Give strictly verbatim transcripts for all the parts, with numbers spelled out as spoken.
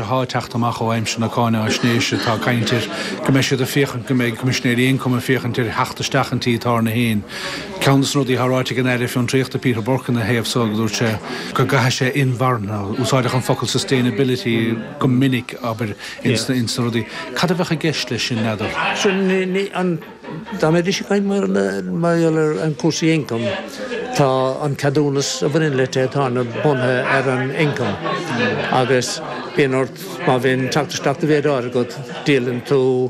atá ag teacht amach ó aimsir na cáinaisnéise tá caint ar go mbeidh siad ag féachaint go mbeidh Coimisinéirí Ioncaim ag féachaint ar theacht isteach an tí tábhairne féin. Ceann de na rudaí atá ráite ag an Aire Fiontraíochta Peter Burke ina thaobh so go dúirt sé go gcaithfidh sé inmharthana, úsáideach an focal sustainability go minic abair ins na rudaí. Cad a bheadh i gceist leis sin n'fheadar? Sin an Dá mbeidís ag caint mar gheall ar an cúrsaí ioncaim, tá an ceadúnas a bhaineann le tithe tábhairne bunaithe ar an ioncam agus bíonn ort, má bhíonn teacht isteach de mhéid áirithe agat, díolann tú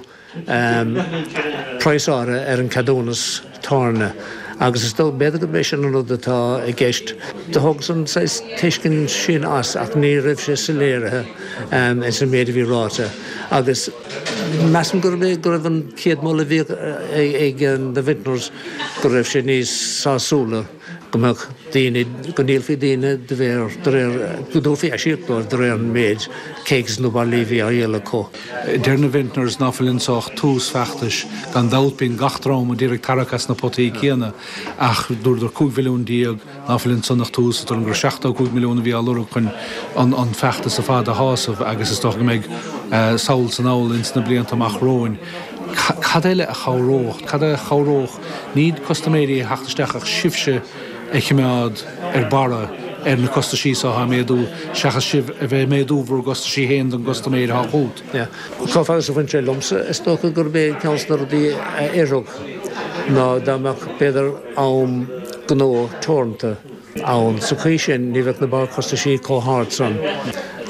praghas áirithe ar an ceadúnas tábhairne agus is dóigh, b'fhéidir gurb é sin an rud atá i gceist. Do thógas an saghas tuiscint sin as ach ní raibh sé soiléirithe ins an méid a bhí ráite agus Measaim gurb é go raibh an chéad mholadh a bhíodh ag na Vintners go raibh sé níos sásúla go mbeadh daoine, go ndíolfaí daoine de réir, de réir, go dtabharfaí aisíoc dóibh de réir an méid kegs nó bairillí a bhí á dhíol acu. Deir na Vintners ná fuil anso ach tús feachtais. Gan dabht bíonn gach dream ag iarraidh tarrac as na potaí céanna ach dúradar cúig mhilliún déag ná fuil ansan ach tús, dúradar gur seachtó cúig milliún a bhí á lorg chun an feachtas ar fad a shásamh agus is dócha go mbeidh sall is anall ins na blianta amach romhainn. Cad eile a chabhródh? Cad a chabhródh ní custaiméirí a theacht isteach ach sibhse a choimeád ar barra ar na costaisí so atá ag méadú seachas sibh a bheith ag méadú bhur gcostaisí féin don gcustaiméir atá chugat? Chomh fada is a bhain sé liomsa, is dócha gurb é ceann de na rudaí a oirfeadh ná dá mbeadh b'fhéidir am gnó teoranta ann. Sa chaoi sin ní bheadh na barrchostaisí chomh hard san.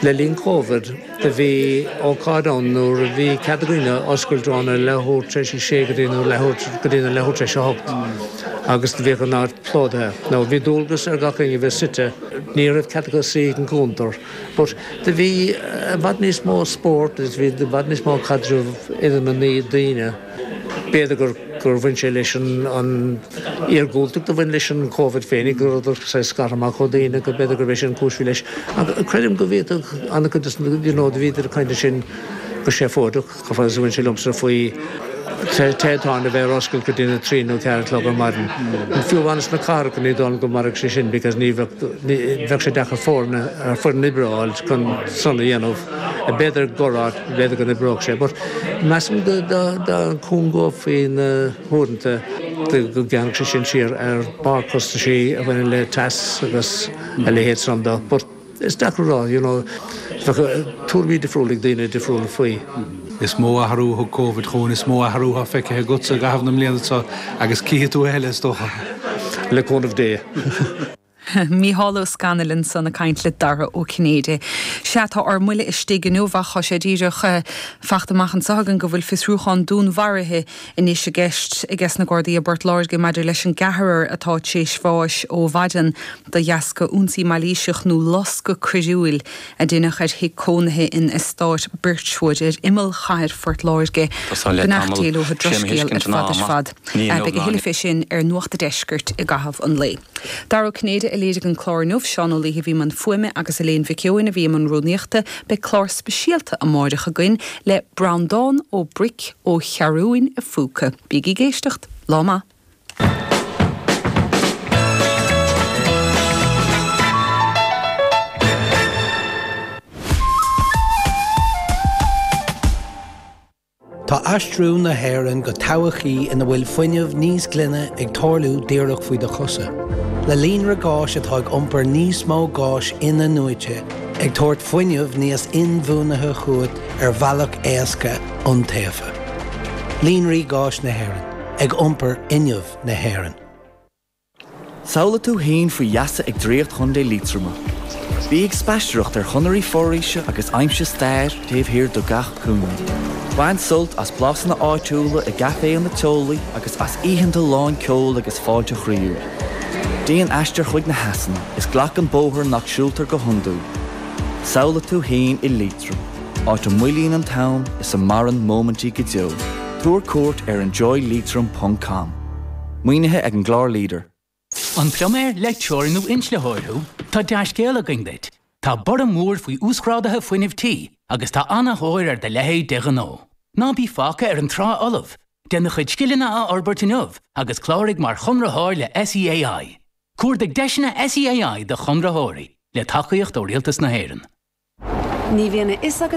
Le linn Covid do bhí ócáid ann nuair a bhí cead ag daoine oscailt óna leathuair tar éis a sé go dtí nó leathuair go dtí na leathuair tar éis a hocht agus do bhíodh an áit plódaithe. Now bhí dualgas ar gach éinne a bheith suite, ní raibh cead acu suí ag an gcuntar but do bhí i bhfad níos mó spórt agus bhí i bhfad níos mó caidreamh idir na daoine. B'fhéidir gur gur bhain sé leis an an iargúltacht a bhain leis an Covid féinig, go rabhadar saghas scartha amach ó dhaoine, go b'fhéidir gurb é sin an chúis a bhí leis. Ach creidim go bhféadfadh an-chuid de na, you know, do bhíodar ag caint ansin go seafóideach, chomh fada is a bhain sé liomsa, faoi tithe tábhairne a bheith ar oscailt go dtí na trí nó ceathair a chlog ar maidin. Fiú amháin sna cathracha ní dóigh liom go mairfeadh sé sin because ní bheadh, ní, bheadh sé deacair foirne, foireann oibre a fháil chun san a dhéanamh. B'fhéidir gur áit, b'fhéidir go n-oibreodh sé, but measaim go dá gcúngófaí na huaireanta go ngearrfadh sé sin siar ar barrchostaisí a bhaineann le teas agus a leithéid san de, but is deacair a rá, you know, bheadh tuairimí difriúla ag daoine difriúla faoi. Is mó athrú a thug Covid chugainn, is mó athrú atá feicthe agatsa i gcaitheamh na mbliana seo agus cífidh tú a thuilleadh, is dócha. Le cúnamh Dé. Mícheál Ó Scanaill ansan ag caint le Dara Ó Cinnéide. Sea, tá ár mbuille istigh inniu ach tá sé díreach fachta amach anseo againn go bhfuil fiosrúchán dúnmharaithe anois i gceist ages na Gardaí i bPort Láirge maidir leis an gceathrar atá tar éis bháis ó mhaidin de dheasca ionsaí mailíseach nó loscadh coiriúil a deineadh ar thigh cónaithe in eastát Birchwood ar imeall chathair Phort Láirge. Beannacht Dé leo, drochscéal ar fad ar fad. Beidh a thuilleadh fé sin ar Nuacht an Deiscirt i gcaitheamh an lae. Dara Ó Cinnéide a léirigh an clár inniu, Seán Ó Laoithe a bhí i mbun fuaime agus Elaine Mhic Eoin a bhí i mbun rúnaíochta. Beidh clár speisialta amáireach againn le Breandán Ó Bric ó Cheathrúin a Phúca. Bígí ag éisteacht. Lá maith. Tá aistriú na hÉireann go todhchaí ina bhfuil fuinneamh níos glaine ag tarlú díreach faoi do chosa. Le líonra gáis atá ag iompar níos mó gáis in-athnuaite, ag tabhairt fuinneamh níos inbhuanaithe chugat ar bhealach éasca iontaofa. Líonraí Gáis na hÉireann, ag iompar fhuinneamh na hÉireann. Samhlaigh tú féin faoi gheasa ag Draíocht Chontae Liatroma. Bí ag spaisteoireacht ar chonairí foraoise agus aimsigh stair taobh thiar de gach cúinne. Bain sult as blasanna áitiúla i gcaiféanna teolaí agus as oícheanta lán ceoil agus fáilte chroíúil. Déan aistear chuig na heasanna is glac an bóthar nach siúltar go hiondúil. Samhlaigh tú féin i Liatroim, áit a moillíonn an t-am is a maireann móimintí go deo. Tabhair cuairt ar enjoyleitrim ponc com. Maoinithe ag an gclár Leader. An pluiméir, leictreoir nó inslitheoir thú? Tá dea-scéal againn duit! Tá borradh mór faoi uasghráduithe fuinnimh tí agus tá an-thóir ar do leithéid de ghnó. Ná bí fágtha ar an trá fholamh! Déan do chuid scileanna a fhorbairt inniu agus cláraigh mar chonraitheoir le SEAI. Cuardaigh deiseanna SEAI do chonraitheoirí, le tacaíocht ó Rialtas na hÉireann. Ní bhíonn a fhios agat